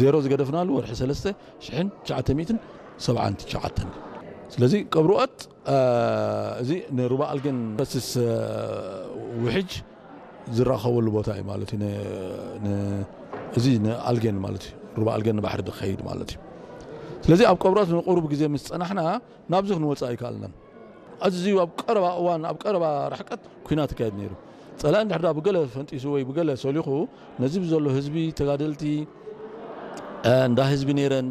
ዜሮ ዝገደፍናሉ ወርሒ ሰለስተ ሽሕን ትሽዓተ ሚእትን ሰብዓን ትሽዓተን። ስለዚ ቀብሪ ኦት እዚ ንሩባ ኣልጌን ፈስስ ውሕጅ ዝራኸበሉ ቦታ እዩ ማለት እዩ። እዚ ንኣልጌን ማለት እዩ፣ ሩባ ኣልጌን ንባሕሪ ዝኸይድ ማለት እዩ። ስለዚ ኣብ ቀብሪ ኦት ንቁሩብ ግዜ ምስ ጸናሕና ናብዚ ክንወጽእ ኣይከኣልናን። ኣዝዩ ኣብ ቀረባ እዋን ኣብ ቀረባ ርሕቀት ኩናት ይካየድ ነይሩ። ጸላኢ እንድሕር ብገለ ፈንጢሱ ወይ ብገለ ሰሊኹ ነዚ ብዘሎ ህዝቢ ተጋደልቲ እንዳ ህዝቢ ነይረን፣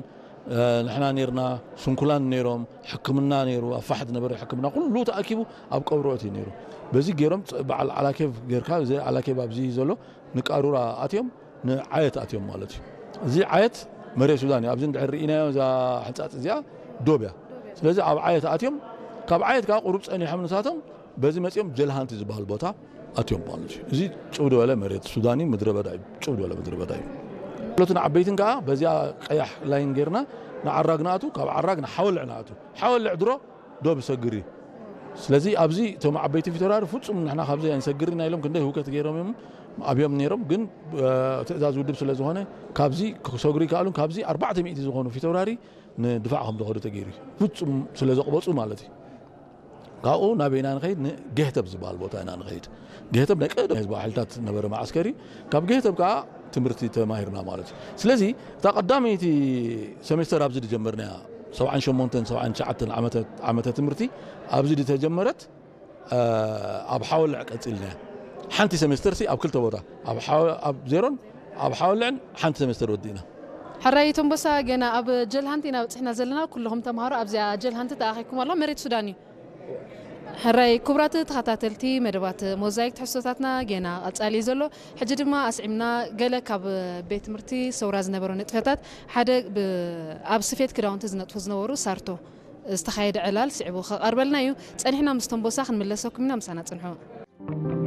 ንሕና ነይርና፣ ስንኩላን ነይሮም፣ ሕክምና ነይሩ፣ ኣብ ፋሕት ነበረ ሕክምና ኩሉ ተኣኪቡ ኣብ ቀብሪ ኦት እዩ ነይሩ። በዚ ገይሮም በዓል ዓላኬብ ጌርካ፣ እዚ ዓላኬብ ኣብዚ ዘሎ ንቃሩራ ኣትዮም ንዓየት ኣትዮም ማለት እዩ። እዚ ዓየት መሬት ሱዳን እዩ። ኣብዚ እንድሕር ርኢናዮ እዛ ሕንጻጽ እዚኣ ዶብ እያ። ስለዚ ኣብ ዓየት ኣትዮም ካብ ዓየት ከዓ ቁሩብ ጸኒሖም ንሳቶም በዚ መጺኦም ጀልሃንቲ ዝበሃል ቦታ ኣትዮም ማለት እዩ። እዚ ጭው ዝበለ መሬት ሱዳን እዩ፣ ምድረ በዳ እዩ፣ ጭው ዝበለ ምድረ በዳ እዩ። ሎትን ዓበይትን ከዓ በዚኣ ቀያሕ ላይን ጌርና ንዓራግ ንኣቱ፣ ካብ ዓራግ ንሓወልዕ ንኣቱ። ሓወልዕ ድሮ ዶብ ይሰግር እዩ። ስለዚ ኣብዚ እቶም ዓበይቲ ፊተውራሪ ፍጹም ንሕና ካብዚ ኣይንሰግርን ኢና ኢሎም ክንደይ ህውከት ገይሮም እዮም ኣብዮም ነይሮም። ግን ትእዛዝ ውድብ ስለ ዝኾነ ካብዚ ክሰግሩ ይከኣሉን ካብዚ ኣርባዕተ ሚእቲ ዝኾኑ ፊተውራሪ ንድፋዕ ከም ዝኸዱ ተገይሩ እዩ። ፍጹም ስለ ዘቕበጹ ማለት እዩ። ካብኡ ናበይ ኢና ንኸይድ? ንገህተብ ዝበሃል ቦታ ኢና ንኸይድ። ገህተብ ናይ ቀደም ህዝባዊ ሓይልታት ነበረ መዓስከር እዩ። ካብ ገህተብ ከዓ ትምህርቲ ተማሂርና ማለት እዩ። ስለዚ እታ ቀዳመይቲ ሰሜስተር ኣብዚ ዝጀመርናያ ሰብዓን ሸሞንተን ሰብዓን ትሽዓተን ዓመተ ዓመተ ትምህርቲ ኣብዚ ዝተጀመረት ኣብ ሓወልዕ ቀጺልና ሓንቲ ሰሜስተር ሲ ኣብ ክልተ ቦታ ኣብ ዜሮን ኣብ ሓወልዕን ሓንቲ ሰሜስተር ወዲእና። ሕራይ ቶምቦሳ፣ ገና ኣብ ጀልሃንቲ ኢና በፂሕና ዘለና። ኩልኹም ተምሃሮ ኣብዚኣ ጀልሃንቲ ተኣኺብኩም ኣሎ። መሬት ሱዳን እዩ። ሕራይ ክቡራት ተኸታተልቲ መደባት ሞዛይክ ትሕዝቶታትና ገና ቀጻሊ እዩ ዘሎ። ሕጂ ድማ ኣስዒምና ገለ ካብ ቤት ትምህርቲ ሰውራ ዝነበሩ ንጥፈታት ሓደ ኣብ ስፌት ክዳውንቲ ዝነጥፉ ዝነበሩ ሳርቶ ዝተኻየደ ዕላል ስዒቡ ክቐርበልና እዩ። ጸኒሕና ምስ ቶምቦሳ ክንምለሰኩም ኢና፣ ምሳና ጽንሑ።